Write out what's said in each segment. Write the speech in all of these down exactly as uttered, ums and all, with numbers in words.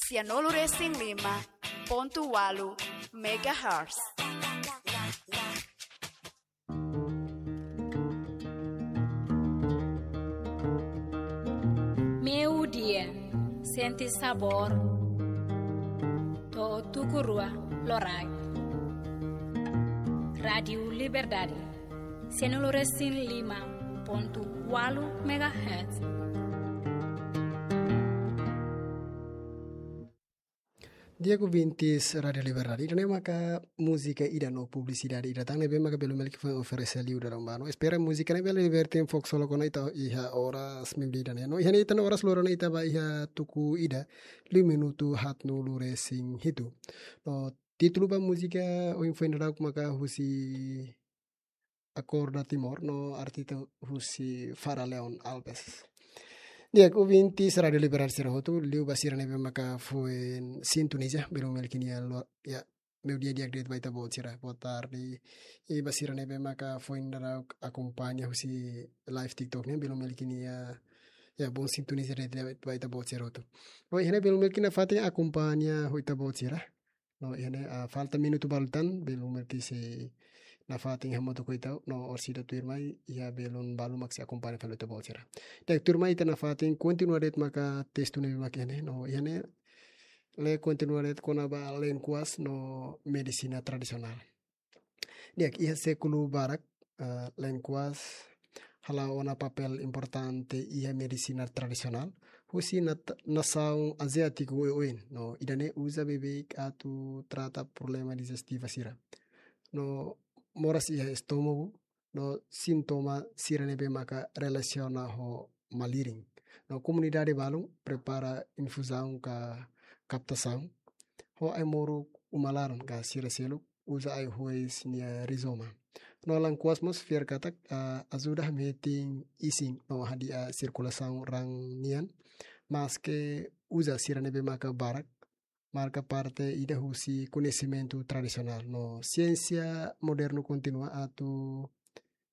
Sianulu resin lima pontu walu megahertz. Meio-dia, sente sabor. To'o tuku rua loraik. Rádiu Liberdade, sianulu resin lima pontu walu megahertz. Di'ak ouvintes Rádiu Liberdade, ida-ne'e maka múzika ida no publisidade ida tan ne'ebé maka Belu Melki foin oferese liu dadaun ba no. Espera múzika ne'e bele liberta fokus loos ona ita iha oras meio-dia ida-ne'e. No iha ne'e ita no oras loron ita ba iha tuku ida, liu minutu haatnulu resin hitu. No títulu ba múzika ohin foin dadauk maka husi Acorda Timor no artista husi Fara Leon Alves. Di'ak ouvintes Rádiu Liberdade sira hotu, liu ba sira ne'ebé maka foin sintoniza Belu Melki nia lo-, ya, meio-dia di'ak de'it ba ita-boot sira. Boa tarde. I ba sira ne'ebé maka foin dadauk akompaña husi live TikTok ne'e, Belu Melki nia, ya, bom sintoniza de'it ba ita-boot sira hotu. No iha ne'e Belu Melki nafatin akompaña ho ita-boot sira. No iha ne'e, ah, falta minutu balu tan, Belu Melki sei nafatin hamutuk ho ita, no orsida tuirmai, iha belun balu mak sei akompaña fali ita-boot sira. Di'ak, tuirmai ita nafatin kontinua de'it maka testu ne'ebé maka iha ne'e, no iha ne'e, lee kontinua de'it kona-ba lenkuas no medisina tradisionál. Di'ak, iha sékulu barak, eh, lenkuas hala'o ona papél importante iha medisina tradisionál husi nat-, nasaun aziátiku oioin. No ida-ne'e uza beibeik atu trata problema dijestiva sira. No moras iha estómagu, no sintoma sira ne'ebé maka relasiona ho malirin. No komunidade balun prepara infuzaun ka kaptasaun ho ai-moruk uma-laran ka sira seluk uza ai-hois nia rizoma. No lenkuas mós fiar katak, ah, ajuda hametin isin no hadi'a sirkulasaun raan nian, maske uza sira ne'ebé maka barak marka parte ida husi koñesimentu tradisionál. No siénsia modernu kontinua atu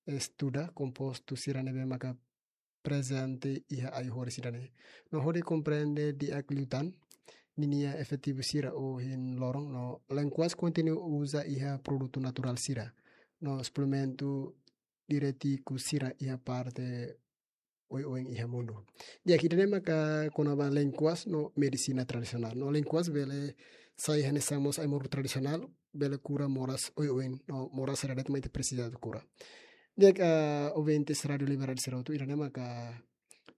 estuda kompostu sira ne'ebé maka prezente iha ai-horis ida-ne'e. No hodi komprende di'ak liután ninia efetivu sira ohin loron, no lenkuas kontinua uza iha produtu naturál sira no suplementu diurétiku sira iha parte oioin iha mundu. Di'ak, ida-ne'e maka kona-ba lenkuas no medisina tradisionál. No lenkuas bele sai hanesan mós ai-moruk tradisionál, bele kura moras oioin, no moras sira de'it mak ita presiza atu kura. Di'ak, ah, ouvintes Rádiu Liberdade sira hotu, ida-ne'e maka,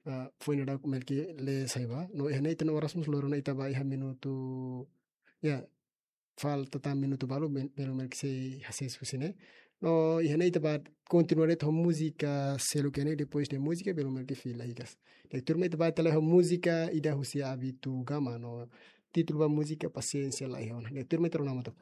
ah, foin dadauk Melki lee sai ba. No iha ne'e ita no oras mós loron ona ita ba iha minutu, ya, falta tan minutu balu, Bel-, Belu Melki sei hasees husi ne'e. No iha ne'e ita ba kontinua de'it ho múzika seluk iha ne'e, depois de múzika Belu Melki fila hikas. Di'ak, tuirmai ita ba ita la'o ho múzika ida husi Abitu Gama, no títulu ba múzika Pasiénsia La Iha Ona. Di'ak, tuirmai ita rona hamutuk.